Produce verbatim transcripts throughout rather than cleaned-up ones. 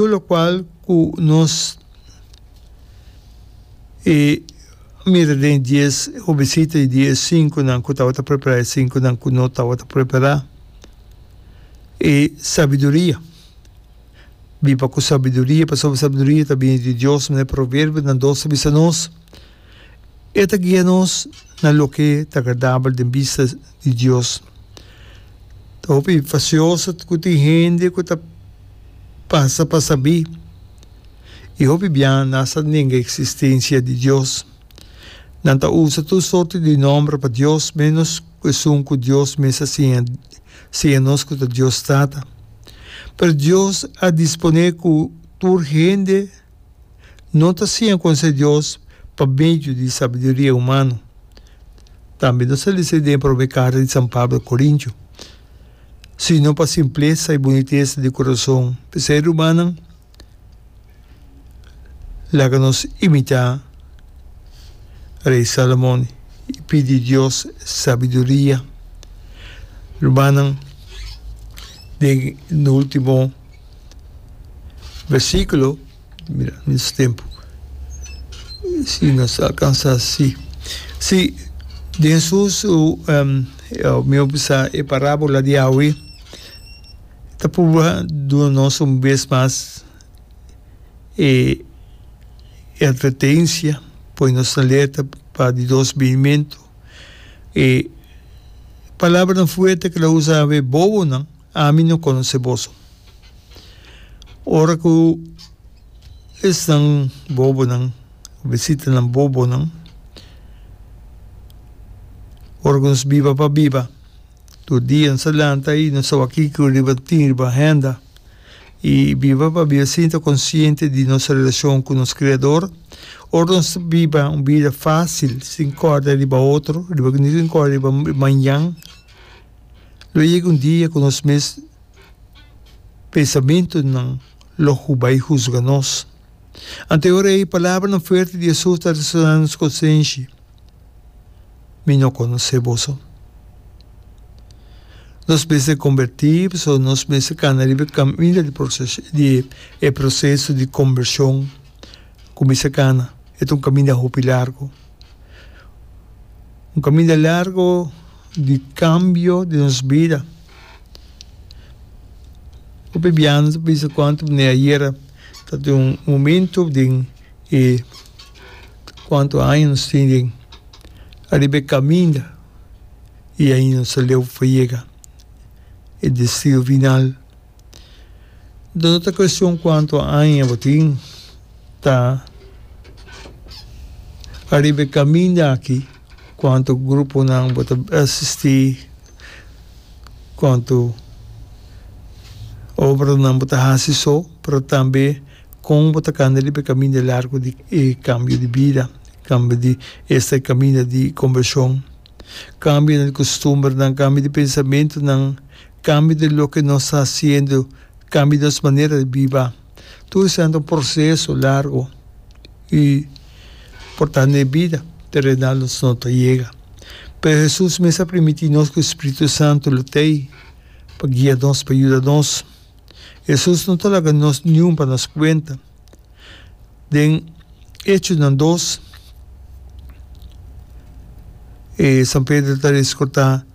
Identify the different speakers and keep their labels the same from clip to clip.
Speaker 1: Tur lokual ku nos e mira den dies hobesita i di e sinkunan ku tabata prepará i e sinkunan ku no tabata prepará, e sabiduria. Biba ku sabiduria, pasobra sabiduria ta bini di Dios, manera Proverbionan dos ta bisa nos. E ta guia nos na loke ta agradabel den bista di Dios. Ta hopi fasioso ku tin hende ku ta pasa pa sabí i hopi bia nan sa nenga eksistensia di Dios. Nan ta usa tur sorti di nòmber pa Dios ménos ku esun ku Dios mes a siña siña nos ku ta Dios Tata. Pero Dios a disponé ku tur hende no ta siña konosé Dios pa medio di sabiduria humano. Tambe nos ta lesa den e promé karta di San Pablo a Korintio, sino pa simplesa i bunitesa di kurason. P'esei, rumannan, laga nos imitá Rei Salomon i pidi Dios sabiduria. Rumannan, den e último Versículo, mira nos tempo, si nos alcansa si. Si, den Hesus su, um, mi a bisa e parábola di awe, ta purba duna nos un bes mas e e advertencia, pone nos na alerta pa di dos binimento. E palabranan fuerte ku el a usa awe, bobonan, Ami no konosé boso. Ora ku esnan bobonan, obesitanan bobonan, ora ku nos biba pa biba, tur dia nos ta lanta i nos ta wak kiko riba tin riba agenda, i biba pa biba sin ta konsiente di nos relashon ku nos Kreador. Ora nos ta biba un bida fásil, sin kòrda riba otro, riba sin kòrda riba mañan. Lo yega un dia ku nos mes pensamentunan lo bai husga nos. Anto e ora ei palabranan fuerte di Hesus ta resoná na nos konsenshi, Mi no konosé boso. Nos mester kombertí pasobra nos mester kana riba e kaminda di di e proseso di kombershon. Kuminsá kana, e ta un kaminda hopi largu. Un kaminda largu di kambio di nos bida. Hopi bia nos ta bisa kuantu manera ayera ta tin un momento den e kuantu aña nos tin den ariba e kaminda i ainda nos ta leu pa yega e destino final. No ta cuestion cuanto aña bo tin ta ariba e caminda aki, cuanto gruponan bo ta asisti, cuanto obranan bo ta haci so, pero tambe con bo ta cana riba e caminda largo di e cambio di bida, cambio di esta e caminda di conversion, cambio di costumbernan, cambio di pensamentonan. Cambio di loke nos ta haciendo, cambio di nos manera di biba. Tur esnan ta un proceso largo y por ta n'e bida terenal nos no ta yega. Pero Jesus mes a primiti nos cu Spiritu Santo lo t'ey pa guia nos, pa yuda nos. Jesus no ta laga nos niun pa nos cuenta. Den Echonan dos, e San Pedro ta rescorta.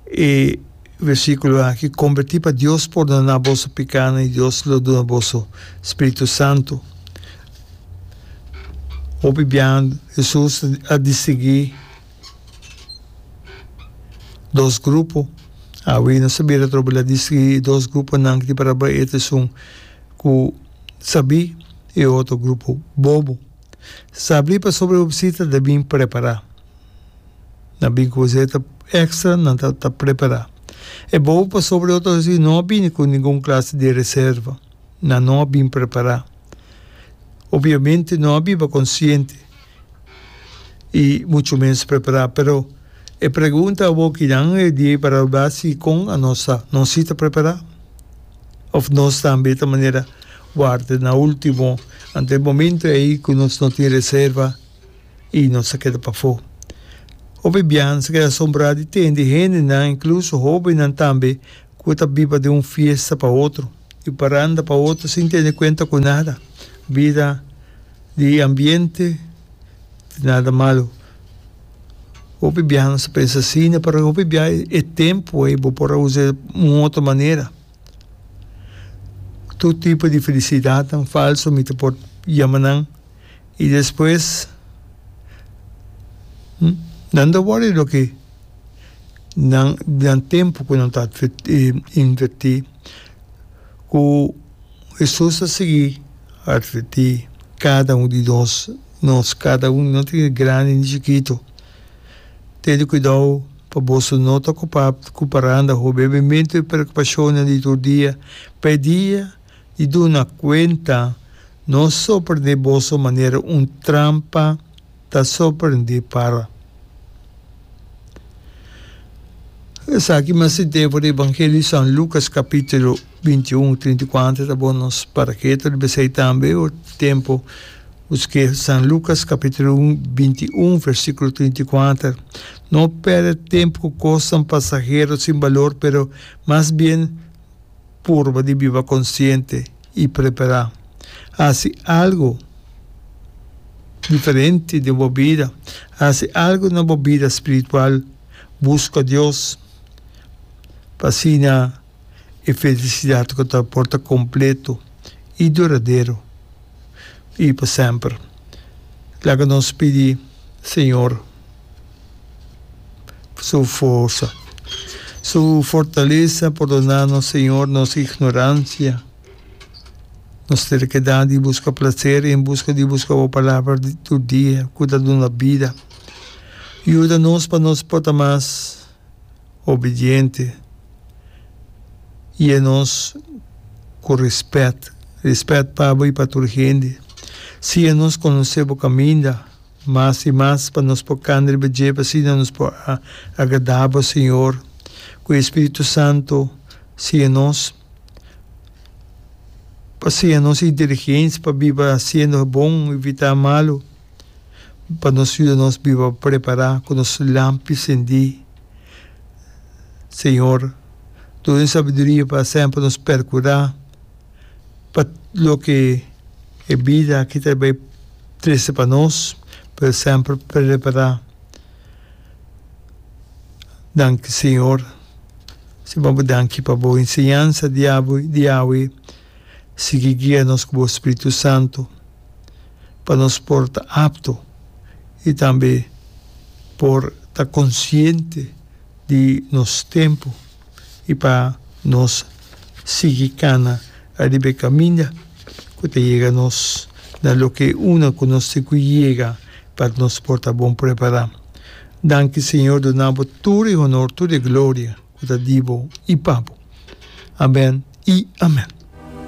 Speaker 1: E versíkulo aki, Kombertí pa Dios pordoná boso pikánan i Dios lo duna boso Spiritu Santu. Hopi biaha Hesus a distinguí dos grupo. Awe nos ta bira atrobe el a distinguí e dos gruponan ki tin parabra e ta esun ku sabí i e otro grupo bobo. Sabí pasobra e hobisita ta bin prepará. Nan bin ku zeta extra, nan ta ta prepará. E bobo pasobra e otro hasi no a bini ku ningun klase di reserva. Nan no a bin prepará. Obviamente no a biba konsiente i muchu menos prepará. Pero e pregunta awor kinan e dia para wak si kon anos ta. Nos si ta prepará? Of nos tambe ta manera warda na ultimo anto e momento ei ku nos no tin reserva? I nos a keda pafó. Hopi biaha nos a keda asombrá di tende hendenan, inkluso hóbennan tambe, ku ta biba den un fiesta pa otro Di paranda pa otro sin tene cuenta cu nada. Bida di ambiente nada malo. Hopi biaha nos ta pensa asina, pero hopi biaha e tempo ei bo por a usa un otro manera. Tur tipo di felicidadnan falso mi ta por yama nan y despues nan ta worry loke nan nan tempo cu nan ta inverti cu Hesus a sigui adverti cada un di nos, nos cada un no tin grandi ni chikito, tene cuidao pa boso no ta ocupa cu paranda ho bebimento y preocupacionnan di tur dia, pa e dia di duna cuenta no sorprende boso manera un trampa ta sorprende para. Esaki mas sint'é for di Evangelio di San Lucas capítulo binti i un, trinta i kuater ta bon nos para ketu riba esei tambe otro tempo busk'é San Lucas capítulo binti i un versículo trinta i kuater No perde tempo ku kosnan pasahero sin balor pero mas bien purba di biba konsiente i prepará. Hasi algu diferente den bo bida. Hasi algu na bo bida spiritual. Buska Dios pa asina e felisidat ku ta por ta kompleto i duradero i pa semper. Laga nos pidi Señor su forsa, su fortalesa. Pordoná nos, Señor, nos ignoransia. Nos terkedat di buska plaser en buska di buska bo palabra di tur dia ku ta duna bida. Yuda nos pa nos por ta mas obediente i e nos ku rèspèt, rèspèt pa bo i pa tur hende. Siña nos konosé bo kaminda mas i mas pa nos por kanda riba dje pa asina nos por agradá bo, Señor. Ku e Spiritu Santu siña nos. Pa siña nos inteligensia pa biba hasiendo bon, evitá malu, pa nos yuda nos biba prepará ku nos lampi sendí. Señor, duna nos sabiduria pa semper nos perkurá pa loke e bida aki ta bai trese pa nos, pero semper prepará. Danki, Señor. Siñor bo danki pa bo enseñansa di awe. Sigui guia nos ku bo Spiritu Santu pa nos por ta apto i tambe por ta konsiente di nos tempu i pa nos sigui kana riba e kaminda ku ta yega nos na loke una ku nos tin ku yega pa nos por ta bon prepará. Danki Señor duna bo tur e honor, tur e gloria ku ta di bo i pa bo. Amen i amen.